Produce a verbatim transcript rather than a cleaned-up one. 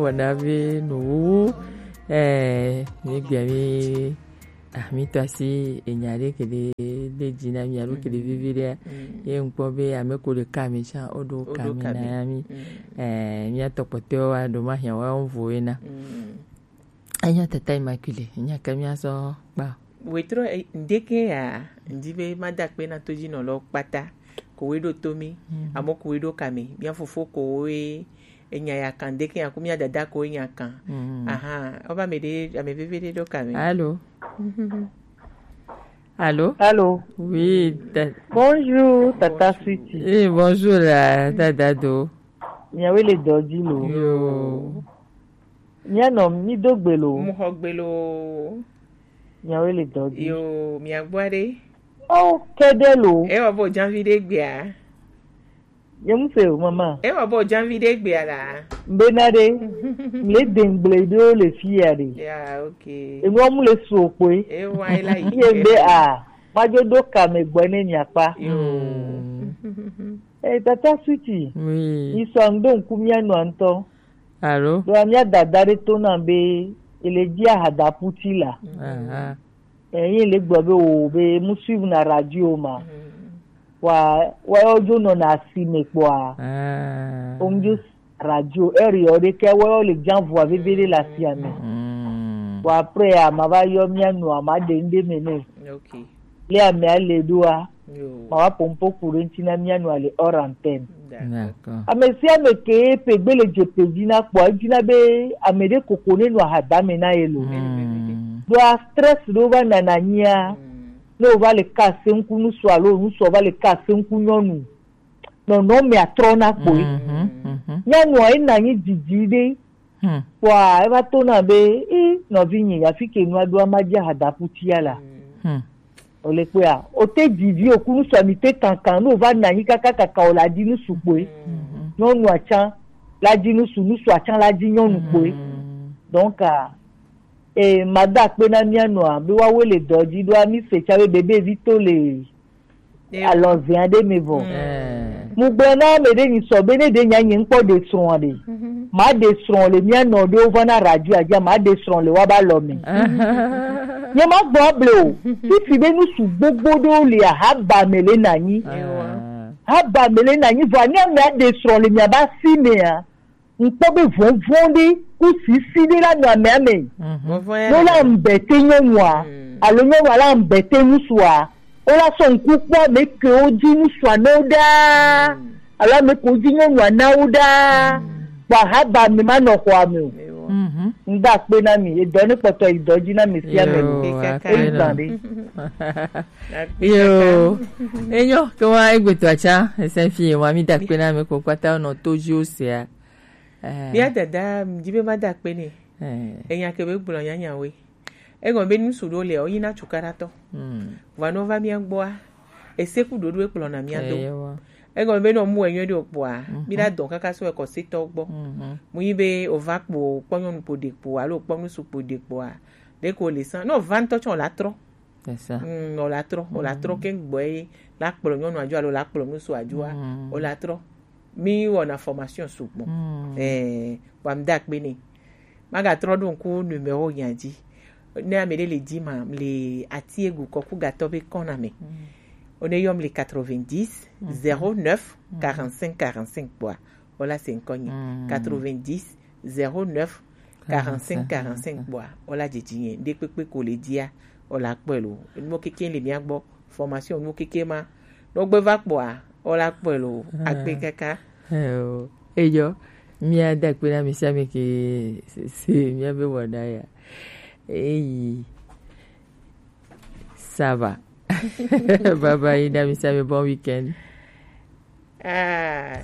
wɔna be nuwuwu, eh, mi gbia mi, ah, mi to asi enya ɖe ke ɖe, ɖe dzi na mi alo ke ɖe vivi ɖe. Ye ŋkpɔ be ame ko ɖe ka mi tsã, o ɖo ka mi na ya mi. Eh, mi atɔ kpɔtɔe wa ɖo ma hia wa ŋvo ena. Enya tata Immaculée, enya ke mi asɔ kpa. Wetro, eh, ndeke ya, ndi be ma da kpe na to dzi nɔ lɔ kpata. Ko we ɖo to mi, amo ko we ɖo ka mi. Mia fofo ko we enya ya kan ndeke ya ko mia dada ko enya kan. Aha, o ba me de, ame veve de ɖo ka mi. Allô? Allô? Allô? Oui, ta- Bonjour, Tata Sweetie. Eh, bonjour la, dada do. Miawe le dɔ dzi lo. Yo. Mia nɔ mi do gbe lo. Mu xɔ gbe lo. Miawe le dɔ dzi. Yo, mia gbɔ ɖe. O kɛdɛ lo. E wɔ bo janvi ɖe gbea. Ye mu se o, mama. E wɔ bo janvi ɖe gbea la. Mbena ɖe. Le dengble ɖo le fi ya ɖe. Ya, okay. Enu mu le so kpoe. E wa e la yi. Ye be a. Ma jo do ka me gbɔ ne mia kpa. Yo. Eh, Tata Sweetie. Oui. Isɔ ŋdo ŋku mia nɔ ŋtɔ. Allô? Ɖo mia dada ɖe to na be ele dzi ahadaputi la. Aha. Eh, ye le gbɔ be o be mu suivre na radio ma. Wa, wa yo jo nɔ na si me kpɔa. Ah. O mu jo radio eri o de ke wa yo le jan vua veve de la si ame. Wa après a ma va yo mia nu a ma de nde me ne. Okay. Le ame a le do a. Yo. Ma wa pompo kure nti na mia nu a le hors antenne. D'accord. Ame sia ame ke pe gbe le dze pe dzi na kpɔ, edzi na be ame ɖe koko ne nɔ ahadame na ye lo. Ɖo a stress ɖo va nana nyia, ne o va le ka se ŋku ŋusu alo ŋusu va le ka se ŋku nyɔnu, nɔnɔ me atrɔ na kpoe. Nyɔnua ye na nyi didi ɖe. Kpɔa, eva to na be, i nɔvi nyi, afi ke nua ɖo ama dzi ahadaputia la. O le kpɔa, o te dzi vi o kunu sɔ mi te kankan, no va na anyi kaka kaka o la dzi nu su kpoe. Nyɔnu atsa la dzi nu su, nu su atsa la dzi nyɔnu kpoe. Donc, ah, eh, ma da akpe na mia nɔa, be woawoe le dɔ dzi ɖoa, mi se tsa be bebe vi to le alɔzɛa ɖe me vɔ. Mu gblɔ na ame ɖe nyi sɔ be ne ɖe nya nye ŋkpɔ ɖe srɔ̃a ɖe. Ma ɖe srɔ̃ le mia nɔ ɖewo va na radio adza, ma ɖe srɔ̃ le wa ba lɔ me. Nye ma gbɔ able o. Fifi be nu su gbogbo ɖewo le ahaba me le na nyi. Haba me le na nyi vɔ ani ame aɖe srɔ̃ le mia ba si mea. Ŋkpɔ be vɔvɔ̃ ɖe ku sisi ɖe la nɔ amea me. Vɔvɔ̃ ya No la ŋbɛ te nyɔnua, alo nyɔnua la ŋbɛ te ŋutsua, o la sɔ ŋku kpɔ ame kewo dzi ŋutsua na wo ɖaa, alo ame kewo dzi nyɔnua na wo ɖaa. Kpɔ ahaba me ma nɔ xɔa me o. Ŋda akpe na mi, edɔ ne kpɔtɔ yi dɔ dzi na mi sia me lo. Yo, akpe Eyi na. Gban ɖe. Yo, enyo, ke wa egbetɔ atsa, ese fi wa mi da akpe na mi ko kpata nɔ to dzi o sea. Eh. Mía dada, mdi be ma da akpe nɛ. Eh. Enya ke be gblɔ nyanya we. Egɔme be nusu ɖo le o, yina cukaɖatɔ. Mm. Vɔa nɔ va mía gbɔa, ese ku ɖoɖo ekplɔ na mía do. Eyewa. Egɔme be nɔ mu enyɔ ɖe okpɔa, mi la dɔn kaka so ekɔ setɔ gbɔ. Mu yi be o va kpo, kpɔ nyɔnu kpo ɖe kpo, alo kpɔ nusu kpo ɖe kpoa, ɖe ko le san. Nɔ va ŋutɔ tsɔ la trɔ. C'est ça. Mm, o la trɔ, o la trɔ ke gbɔ ye, la kplɔ nyɔnu adzo alo la kplɔ nusu adzo a, o la trɔ. Mi wɔna formation sugbɔ. Eh, wa mda akpe nɛ. Magatrɔ ɖo ŋku numéro nya dzi. Ne ame ɖe le dzi ma, le ati egu kɔku gatɔ be kɔna me. O ne yɔm le quatre-vingt-dix, zéro neuf, quarante-cinq, quarante-cinq kpɔa. O la se ŋkɔ nye. Quatre-vingt-dix, zéro neuf, quarante-cinq, quarante-cinq kpɔa. O la dzidzi nye. Ɖe kpekpe ko le dzia, o la kpɔe lo. Nuwo keke le mia gbɔ. Formation nuwo keke ma. Nɔ gbe va kpɔa, o la kpɔe lo. Akpe kaka. Eh, o. Eyɔ, mía da akpe na mi sia mi ke se, se mía be wɔna ya. Eyi, ça va. Bye bye, na mi sia mi bon week-end. Ah,